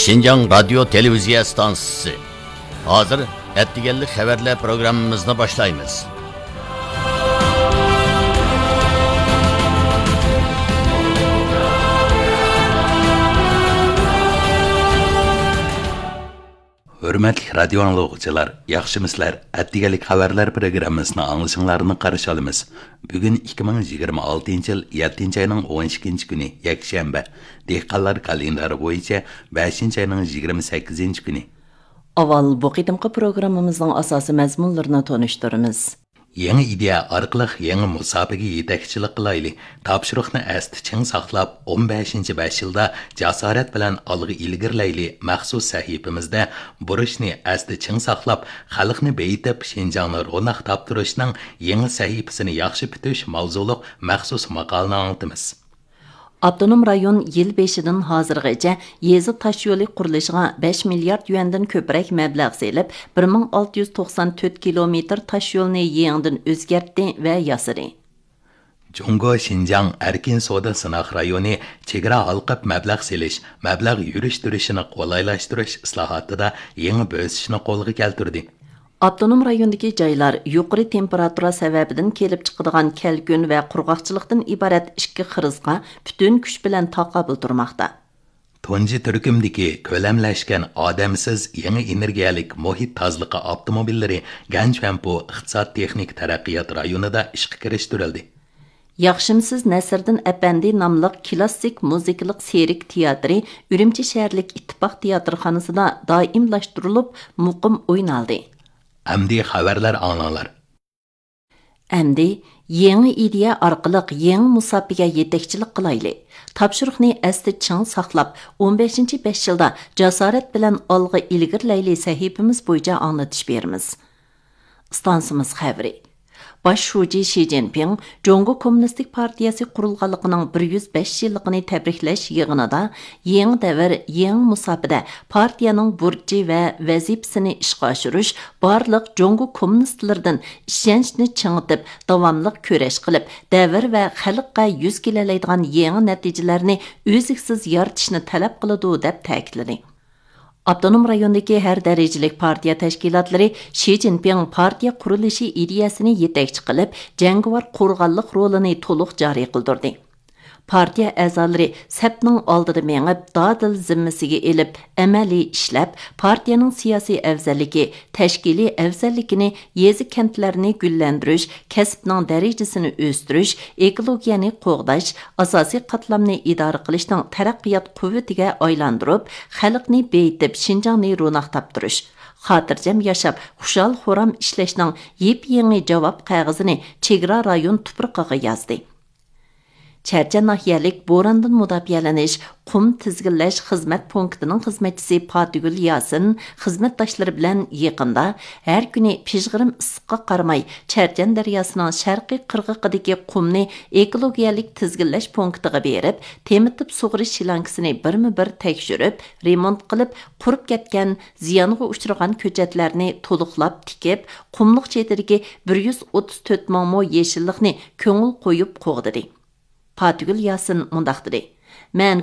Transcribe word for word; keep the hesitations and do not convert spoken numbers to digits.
شىنجاڭ رادىيو تېلېۋىزىيە ئىستانسىسى. ھازىر ئەتىگەنلىك خەۋەرلەر پروگراممىمىزنى باشلايمىز. ھۆرمەتلىك رادىيو ئاڭلىغۇچىلار، ياخشىمۇسىلەر؟ ئەتىگەنلىك خەۋەرلەر پروگراممىسىنى ئاڭلىشىڭلارنى قارشى ئالىمىز. بۈگۈن ئىككى مىڭ يىگىرمە ئالتىنچى يىل يەتتىنچى ئاينىڭ ئون ئىككىنچى كۈنى، يەكشەنبە. دېھقانلار كالېندارى بويىچە بەشىنچى ئاينىڭ يىگىرمە سەككىزىنچى كۈنى. ئاۋۋال بۇ قېتىمقى پروگراممىمىزنىڭ ئاساسىي مەزمۇنلىرىنى تونۇشتۇرىمىز. يېڭى ئىدىيە ئارقىلىق يېڭى مۇساپىگە يېتەكچىلىك قىلايلى. تاپشۇرۇقنى ئەستە چىڭ ساقلاپ، ئون بەشىنچى بەش يىلدا جاسارەت بىلەن ئالغا ئىلگىرىلەيلى مەخسۇس سەھىپىمىزدە بۇرچنى ئەستە چىڭ ساقلاپ، خەلقنى بېيىتىپ، شىنجاڭنى روناق تاپتۇرۇشنىڭ يېڭى سەھىپىسىنى ياخشى پۈتۈش ماۋزۇلۇق مەخسۇس ماقالىنى ئاڭلىتىمىز. ئاپتونوم رايون يىل بېشىدىن ھازىرغىچە يېزا تاشيولى قۇرۇلۇشىغا بەش مىليارد يۈەندىن كۆپرەك مەبلەغ سېلىپ، بىر مىڭ ئالتە يۈز توقسان تۆت كىلومېتىر تاشيولنى يېڭىدىن ئۆزگەرتتى ۋە ياسىدى. جۇڭگو شىنجاڭ ئەركىن سودا سىناق رايونى چېگرا ھالقىپ مەبلەغ سېلىش، مەبلەغ يۈرۈشتۈرۈشىنى قولايلاشتۇرۇش ئىسلاھاتىدا يېڭى بۆسۈشنى قولغا كەلتۈردى. ئاپتونوم رايوندىكى جايلار يۇقىرى تېمپېراتۇرا سەۋەبىدىن كېلىپ چىقىدىغان كەلكۈن ۋە قۇرغاقچىلىقتىن ئىبارەت ئىككى خىرىسقا پۈتۈن كۈچ بىلەن تاقابىل تۇرماقتا. تۇنجى تۈركۈمدىكى كۆلەملەشكەن ئادەمسىز يېڭى ئېنېرگىيەلىك مۇھىت تازىلىقى ئاپتوموبىللىرى گەنچۈەنپو ئىقتىساد تېخنىكا تەرەققىيات رايونىدا ئىشقا كىرىشتۈرۈلدى. ياخشىمسىز نەسىردىن ئەپەندى ناملىق كىلاسسىك مۇزىكىلىق سېرك تىياتىرى ئۈرۈمچى شەھەرلىك ئىتتىپاق تىياتىرخانىسىدا دائىملاشتۇرۇلۇپ، مۇقىم ئوينالدى. ئەمدى خەۋەرلەر ئاڭلاڭلار. ئەمدى يېڭى ئىدىيە ئارقىلىق يېڭى مۇساپىگە يېتەكچىلىك قىلايلى. تاپشۇرۇقنى ئەستە چىڭ ساقلاپ، ئون بەشىنچى بەش يىلدا جاسارەت بىلەن ئالغا ئىلگىرىلەيلى سەھىپىمىز بويىچە ئاڭلىتىش بېرىمىز. ئىستانسىمىز خەۋىرى. باش شۇجى شى جىنپىڭ جۇڭگو كوممۇنىستىك پارتىيەسى قۇرۇلغانلىقىنىڭ بىر يۈز بەش يىللىقىنى تەبرىكلەش يىغىنىدا يېڭى دەۋر، يېڭى مۇساپىدە پارتىيەنىڭ بۇرچى ۋە ۋەزىپىسىنى ئىشقا ئاشۇرۇش، بارلىق جۇڭگو كوممۇنىستلىرىدىن ئىشەنچنى چىڭىتىپ، داۋاملىق كۈرەش قىلىپ، دەۋر ۋە خەلققە يۈز كېلەلەيدىغان يېڭى نەتىجىلەرنى ئۈزلۈكسىز يارىتىشنى تەلەپ قىلىدۇ، دەپ تەكىتلىدى. ئاپتونوم رايوندىكى ھەر دەرىجىلىك پارتىيە تەشكىلاتلىرى شى جىنپىڭ پارتىيە قۇرۇلۇشى ئىدىيەسىنى يېتەكچى قىلىپ، جەڭگىۋار قورغانلىق رولىنى تولۇق جارى قىلدۇردى. پارتىيە ئەزالىرى سەپنىڭ ئالدىدا مېڭىپ، دادىل زىممىسىگە ئېلىپ، ئەمەلىي ئىشلەپ، پارتىيەنىڭ سىياسىي ئەۋزەللىكى، تەشكىلىي ئەۋزەللىكىنى يېزا، كەنتلەرنى گۈللەندۈرۈش، كەسىپنىڭ دەرىجىسىنى ئۆستۈرۈش، ئېكولوگىيەنى قوغداش، ئاساسىي قاتلامنى ئىدارە قىلىشنىڭ تەرەققىيات قۇۋۋىتىگە ئايلاندۇرۇپ، خەلقنى بېيىتىپ، شىنجاڭنى روناق تاپتۇرۇش، خاتىرجەم ياشاپ، خۇشال-خۇرام ئىشلەشنىڭ يېپيېڭى جاۋاب قەغىزىنى چېگرا رايون تۇپرىقىغا يازدى. چەرچەن ناھىيەلىك بوراندىن مۇداپىئەلىنىش قۇم تىزگىنلەش خىزمەت پونكىتىنىڭ خىزمەتچىسى پاتىگۈل ياسىن خىزمەتداشلىرى بىلەن يېقىندا ھەر كۈنى پىژغىرىم ئىسسىققا قارىماي، چەرچەن دەرياسىنىڭ شەرقىي قىرغىقىدىكى قۇمنى ئېكولوگىيەلىك تىزگىنلەش پونكىتىغا بېرىپ، تېمىتىپ سۇغىرىش شلانكىسىنى بىرمۇبىر تەكشۈرۈپ، رېمونت قىلىپ، قۇرۇپ كەتكەن، زىيانغا ئۇچرىغان كۆچەتلەرنى تولۇقلاپ تىكىپ، قۇملۇق چېتىدىكى بىر يۈز ئوتتۇز تۆت مىڭ مو يېشىللىقنى كۆڭۈل قويۇپ قوغدىدى. پاتىگۈل ياسىن مۇنداق دېدى: مەن